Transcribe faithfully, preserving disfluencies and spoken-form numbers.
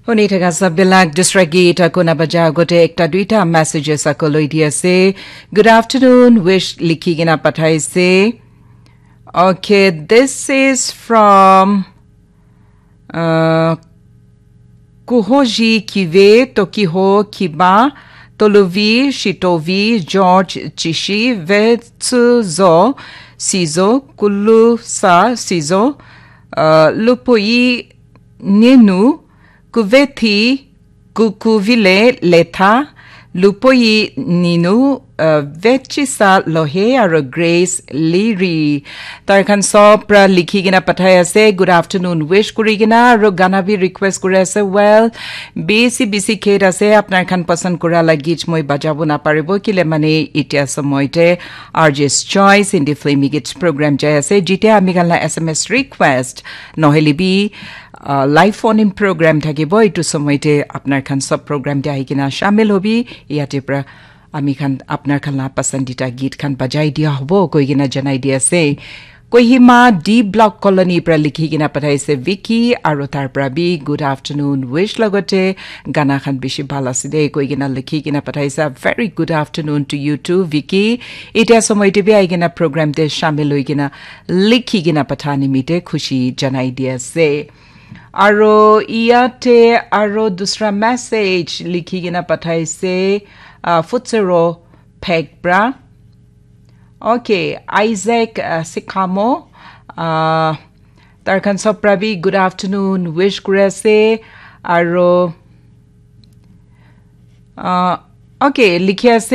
Huni thaka sabilak dusra gita kuna baja agote ekta duita messages ako loi di ase. Good afternoon, wish likhi kena pathaise. Okay, this is from uh, Kuhoji Kive, Tokiho Kiba, Tolovi, Shitovi, George Chishi, Vetsuzo, Sizo, Kulusa Sizo, uh, Lupoi Ninu, Kuvethi, Kukuvile Letha, Lupoi Ninu, uh, Vechisa Lohe, aro Grace Liri. Tar khan sob pra likhi kena pathai ase, good afternoon wish kuri kena, aro gana bi request kuri ase. Well, bisi bisi kate ase, apnar khan pasand kura la git moi bajabo na paribo, kile mane itia somoy te R J's Choice Hindi Filmy Git program jai ase, jite ami khan la S M S request, nohele bi, uh, live phone in program thakibo, itu somoy te apnar khan sob program te ahi kena shamil hobi, yate pra ami khan apnar khan la pasandita git khan bajai dia hobo koi kena janai dia ase. Kohima D Block Colony pra likhi kena pathaise Vicky, aro tar pra bi good afternoon wish logote gana khan bishi bhal ase de koi kena likhi kena pathaise. Very good afternoon to you too, Vicky. Itia somoy te bi ahi kena program te shamil hoi kena likhi kena patha nimite khushi janai dia ase. Aro iyate aro dusra message likhi kena pathaise, uh, Futsero Phek pra. Okay, Isaac, uh, Sikhamo, uh, tar khan sob pra bi good afternoon wish kuri ase. Aro, uh, okay, likhi ase